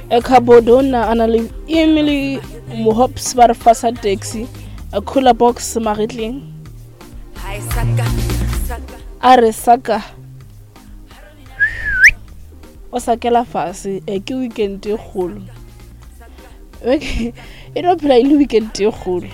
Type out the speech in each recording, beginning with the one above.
Cabodona a na le Emily Mohops ba re fasa taxi a cooler box magetleng a re saka o sakela fase e ke weekend e kgolo e no phela e le weekend e kgolo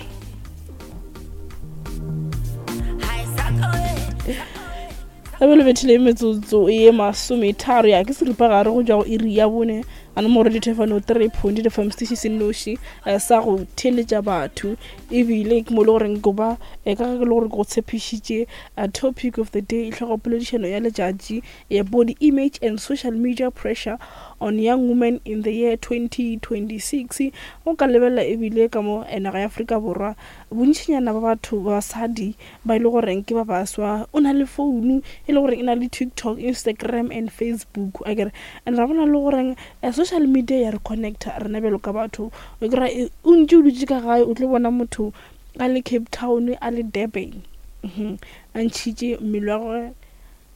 Gabe le bethile metsotso ye masometharo ya ke seripagare go tšwa go iri ya bone a nomoro dithefano 3.5 fm setiši se nnoši eh, sa go theeletša batho ebile ke mo e le goreng ko ba eh, ka ge ke le gore ke go tshepišitše eh, topic of the day tlhogopoledišano ya letšatši ya body image and social media pressure on young women in the year 2026 o ka lebelela ebile ka mo naga ya Afrika Borwa bontšinyana ba batho ba basadi ba e le goreng ke ba baswa o na le founu e le goreng e na le TikTok, Instagram and Facebook akere and ra bona le goreng eh, social media ya re connecta rena bjalo ka batho o kry e, o ntse o dutse ka gae o tlo bona motho a le Cape Town a le Durban mhm, a ntšhitše mmele wa gagwe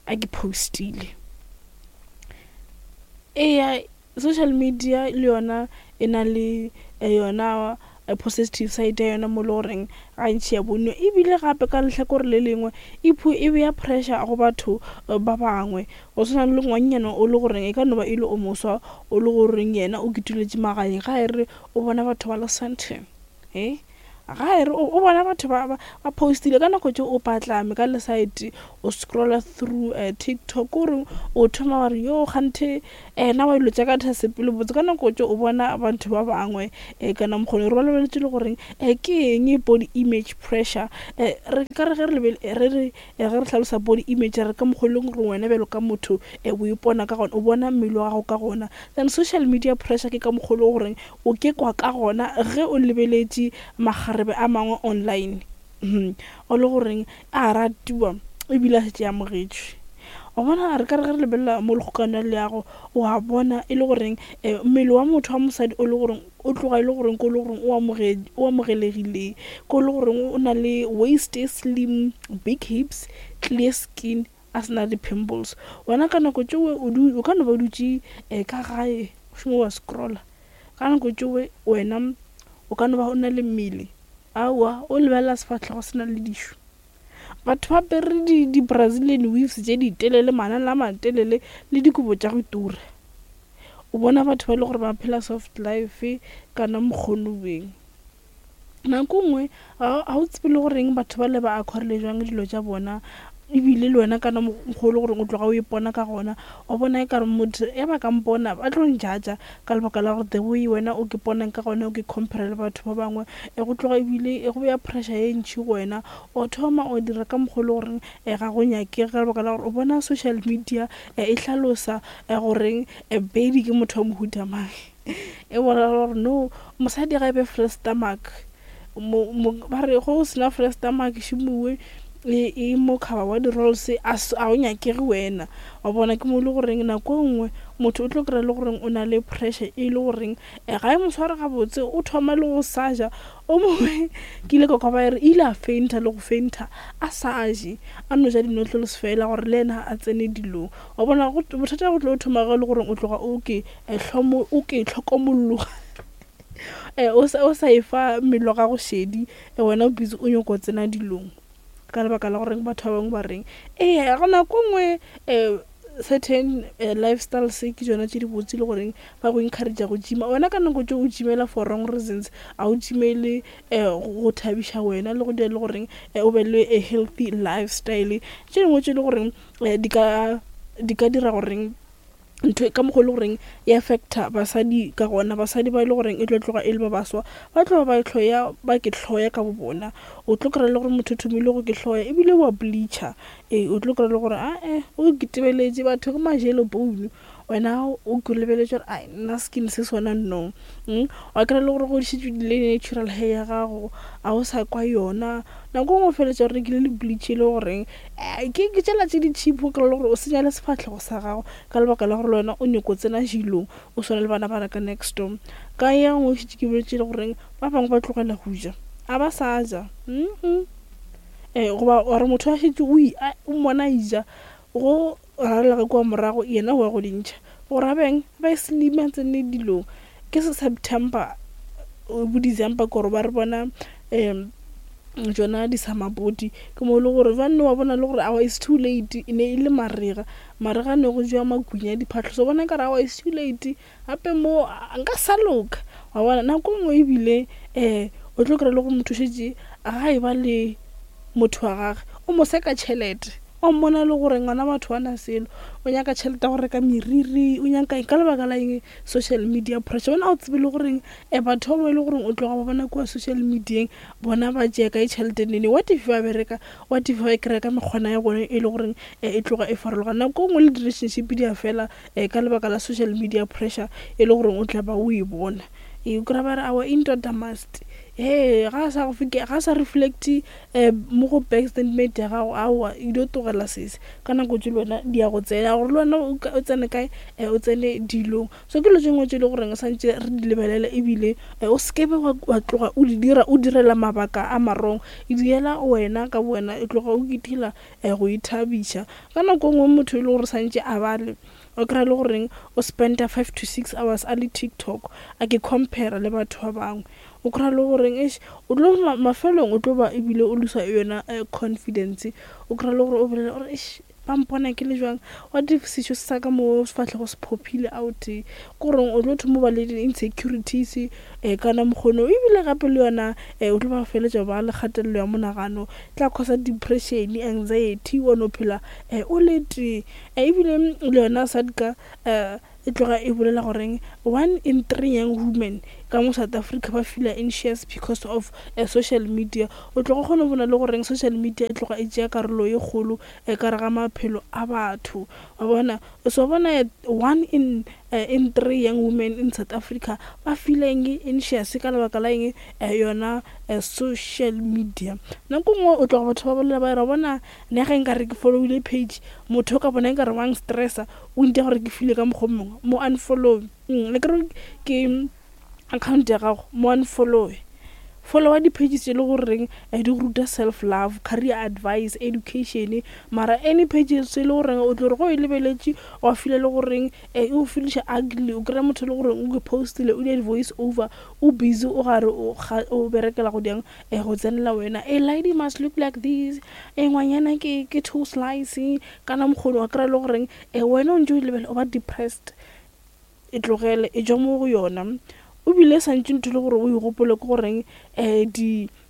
a ke postile eya Social media le yona e na le yona positive side ya yona mo e le goreng gantši ya bonwa ebile gape ka lehlakore le lengwe e e beya pressure go batho ba bangwe. Go swana le ngwannyana o le goreng e ka no ba e le o moswa o le goreng yena o kituletše magaeng ga e re o bona batho ba le Sandton he. Ga e re o bona batho ba ba ba postile ka nako tše o patlame ka le side o scrolla through uh, TikTok o re o thoma wa re yo kganthe ena wa dilo tša ka tha sepele botse ka nako tše o bona batho ba bangwe um kana mokgone re ba lebeletše le goreng um ke eng body image pressure um re ka re ge re re re ge re hlalosa body image re ka mokgwa e leng gore wena bjalo ka motho um o ipona ka gona o bona mmele wa gago ka gona then social media pressure ke ka mokgwa e leng goreng O ke kwa ka gona ge o lebeletše makgarebe a mangwe online o le goreng a ratiwa ebile a šetše a amogetšwe. Wa bona re ka re ge re lebelela mo lekgokano ya leago o a bona e le goreng mmele wa motho wa mosadi o le goreng o tloga e le goreng ke o le goreng o o amogelegile, ke o le goreng o na le waist e slim, big hips, clear skin a se na di-pimples. Wena ka nako tšeo o ka no ba o dutše ka gae o šoma wa scroller. Ka nako tšeoe wena o ka no ba o na le mmele, aowa, o lebelela sefahlego se na le dišo. Batho ba apere di-Brazilian weaves tše ditelele, manala a matelele le dikobo tša go tura. O bona batho ba e le gore ba phela soft life kana mokgonoweng. Nako nngwe ga o tsebe le goreng batho ba le ba acquirile jwang dilo tša bona ebile le wena kana mokgwa o le goreng o tloga o ipona ka gona wa bona e kare motho e ba ka mpona ba tlo njudger ka lebaka la gore the way wena o ke ponang ka gona o ke compare le batho ba bangwe e go tloga ebile e go beya pressure ye ntšhi go wena o thoma o dira ka mokgwa o le goreng ga go nyakege ka lebaka la gore o bona social media e hlalosa goreng Bedi ke motho wa mohuta mang. E bolela gore no mosadi ga e be fresh stomach ba re go sena fresh stomach šimowe e, e mo cover wa di-rolls a o nyakege wena wa bona ke mo e le goreng nako e nngwe motho o tlo kry-a le goreng o na le pressure e le goreng eh, ga e mo sware gabotse o thoma le go sa ja o mongwe ke ile ka kwa ba e re ile a fainta le go fainta a sa je a no ja di-noodles fela gore le ena a tsene dilong wa bona bothata go tlo thoma ge e le goreng o tloga o ke hlomo o ke hlokomologa eh, o sa o sa e fa mmele wa gago šedi eh, wena o busy o nyoko tsena dilong ka lebaka la goreng batho ba bangwe ba reng ee go nako nngwe um certain lifestyles ke tšona tše dibotse le goreng ba go encourage go gyma wena ka nako tše o gymela for wrong reasons a o gymele um go thabiša wena le go dira le goreng o be le a healthy lifestyle tše dingwe tše le goreng di ka di ka dira goreng ntho e ka mokgwa e le goreng e affecta basadi ka gona basadi ba e le goreng e tlo tloga e le ba baswa ba tlo ba hloya ba ke hloya ka bo bona o tlo kry-a le gore motho o thomile go ke hloya ebile wa bleacher ee o tlo kry-a le gore ae o ke tebeletše batho ke majelo bone wena o ke lebeletše gore ai nna skin se sona no wa kry-a le gore go šetše le natural hair ya gago a o sa kwa yona nako nngwe o feleletša o rekile le bleach e le goreng Ke ke tšela tše di cheap o kry-e le gore o senya le sefahlego sa gago ka lebaka la gore le wena o nyoko tsena dilong o swana le bana ba reka next door. Ka ye nngwe šetše ke boletše le goreng ba bangwe ba tlogela go ja a ba sa ja goba or motho a šetše o o mmona a ija go rarela ka kua morago yena o ya go di ntšha gore a beng ba e slim a tsene dilong. Ke September bo December kore ba re bona um tšona di-summer body. Ke mo e le gore jwanong wa bona le gore aowa it's too late, e ne e le marega. Marega ne go jewa makunya diphahlo, so bona nkare aowa it's too late, gape mo nka sa loka. Wa bona nako e nngwe ebile um o tlo kry-a le gore motho o šetše ga e ba le motho wa gage, o mo seka tšhelete. O mmona le gore ngwana batho ga na selo, o nyaka tšhelete ya go reka meriri, o nyaka eng ka lebaka la eng? Social media pressure. Wena ga o tsebe le goreng batho ba ba e le goreng o tloga ba bona kua social media-eng bona ba tšea kae tšhelete nene. What if ba bereka, what if ba e kry-a ka mekgwana ya bona e le goreng e tloga e farologana. Nako e nngwe le di-relationship di a fela ka lebaka la social media pressure e le goreng o tla ba o e bona. O kry-a ba re aowa indoda must, hee ga a sa go ga a sa reflect-e mo go bank statement ya gago, aowa e dio tlogela sese. Ka nako tše le wena di ya go tsena gore le wena o tsene kae, o tsene dilong. So ke dilo tše dingwe tše e le goreng santše re di lebelele, ebile o se ke be wa tloga o di dira o direla mabaka a ma-wrong. E direla wena ka bo wena, e tloga o itira go ithabiša. Ka nako e nngwe motho e le gore santše a bale, o kry-a le goreng o spend-a 5 to 6 hours a le TikTok a ke compare le batho ba bangwe. O kry-a le goreng eish o tlo mafelong o tlo ba ebile o loser yona confidence. O kry-a le gore o bolela gore eish ba mpona ke le jwang, what if sešo sa ka mo sefahlego se phophile out. Ke goreng o tlo thoma o ba le di-insecurities kana mokgono, ebile gape le yona o tlo ba feletša ba le kgatelelo ya monagano, tla causa depression, anxiety, wa no phela o le tee. Ebile le yona SADCA e tloga e bolela goreng 1 in 3 young women ka mo South Africa ba feela anxious because of social media. O tloga o kgona go bona le goreng social media e tloga e tšea karolo ye kgolo ka re ga maphelo a batho. Wa bona, so bona 1 in 3 young women in South Africa ba feelang anxious ka lebaka la eng? Yona social media. Nako nngwe o tloga batho ba bolela ba re bona nna ge nkare ke followile page, motho o ka bona nkare wa nstressa, o ntia gore ke feel-e ka mokgwa o mongwe, mo unfollow. Akere ke account ya gago, mo unfollow. Followa di-pages tše e le goreng di go ruta self love, career advice, education, mara any pages tše e le goreng o tlo re ge o e lebeletše wa feela le goreng e go feeliša ugly. O kry-a motho e le goreng o postile, o dira di-voice over, o busy o gare o berekela go diang go tsenela wena. A lady must look like this, e ngwanyana ke two slice, kana mokgono. Wa kry-a le goreng wena o ntse o lebelela o ba depressed. E tlogele, e tšwa mo go yona. O bile santše ntho e le gore o e gopole ke goreng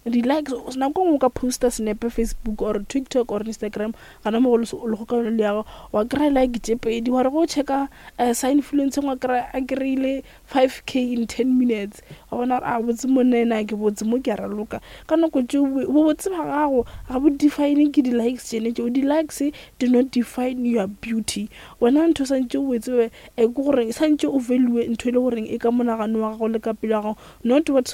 di-likes. Nako nngwe o ka poster senepe Facebook or TikTok or Instagram gana mo go le go ka yone le ya gago, wa kry-a like tše pedi. Wa re go checka sa influence wa kry-a a kry-ile 5K in 10 minutes. Wa bona gore a botse monna ena ke botse mo ke a raloka. Ka nako tšeo bobotse ba gago ga bo define ke di-likes tšene tšeo. Di-likes do not define your beauty. Wena ntho santše o e tsebe ke gore santše o value ntho e le goreng e ka monagano wa gago le ka pelo ya gago, not what.